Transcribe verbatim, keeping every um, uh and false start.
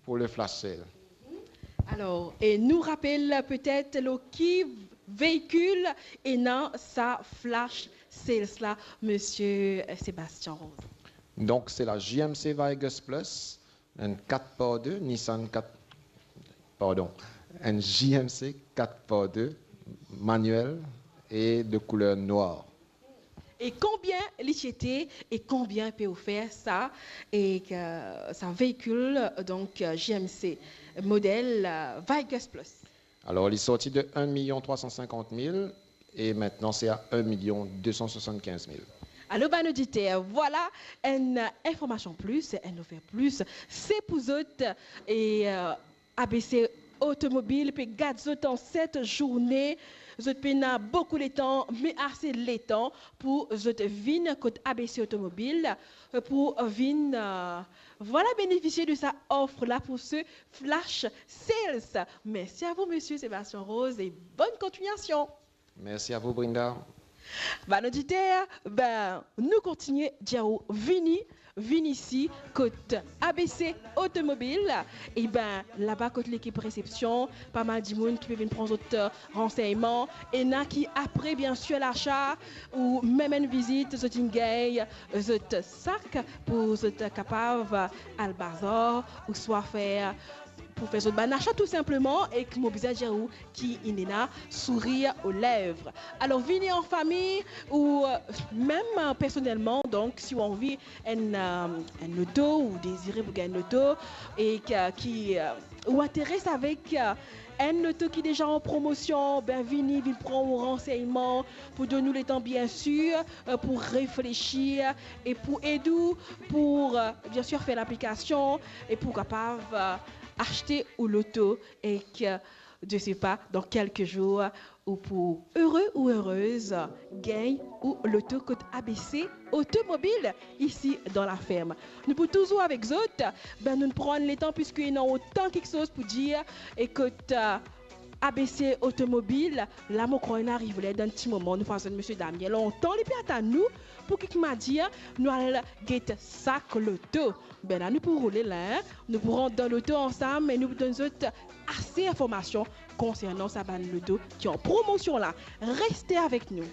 pour le flash sale. Alors, et nous rappelle peut-être le qui véhicule et non sa flash sales là, monsieur Sébastien Rose. Donc c'est la J M C Vigus Plus, un quatre par deux, Nissan quatre, pardon, un J M C quatre par deux manuel et de couleur noire. Et combien li ti ete et combien peut offrir ça et que ça véhicule donc euh, J M C modèle euh, Vigus Plus. Alors il est sorti de un million trois cent cinquante mille et maintenant c'est à un million deux cent soixante-quinze mille. Alors, ben, nous dit, euh, voilà une euh, information plus, une offre plus. C'est pour zot et euh, A B C Automobile peut garder zot en cette journée. Zot pena beaucoup de temps, mais assez de temps pour zot vin côté A B C Automobile euh, pour vin euh, voilà bénéficier de sa offre là pour ce flash sales. Merci à vous, monsieur Sébastien Rose, et bonne continuation. Merci à vous, Brinda. Bann oditer, ben, nou kontigne dir ou vini, vini isi kot A B C Automobile. E ben, laba kot lekip resepsion, pa mal dimoun ki pe vinn pran zot euh, ransegnman. Ena ki apre, bien sir, lasa ou mem enn vizit, zot inn gagn zot sak pou zot kapav al bazar ou swa fer pou fer zot bann asa tou sinpleman, e ki mo bizin dir ou ki inn ena sourir aux lèvres. Alors, vini en famille ou euh, même euh, personnellement, donc si ou anvi enn, euh, enn loto ou dezire pou gagn enn loto e ki, ki euh, ou interes avek euh, enn loto ki deza an promosion, ben vini, vinn pran ou ransegnman pou donn ou letan, bien sir, euh, pou reflesir e pou ed ou pou euh, bien sir fer laplikasion e pou kapav euh, aste ou loto e ki, je sais pas, dans quelques jours, ou pou ere ou erez gagn ou loto kot A B C Automobile isi dan laferm. Nou pou touzour avek zot, ben nou pran letan piski ena otan kiksoz pou dir e kot euh, A B C Automobile, la mo krwar inn ariv ler dan ti moman, nou finn tann misie Damien lontan, li pe atann nou pou ki mo dir nou al get sak loto. Ben la nou pou roule la, hein? Nou pou rant dan loto ansam e nou pou donn zot ase informasion konsernan sa bann loto ki an promosion la. Reste avek nou.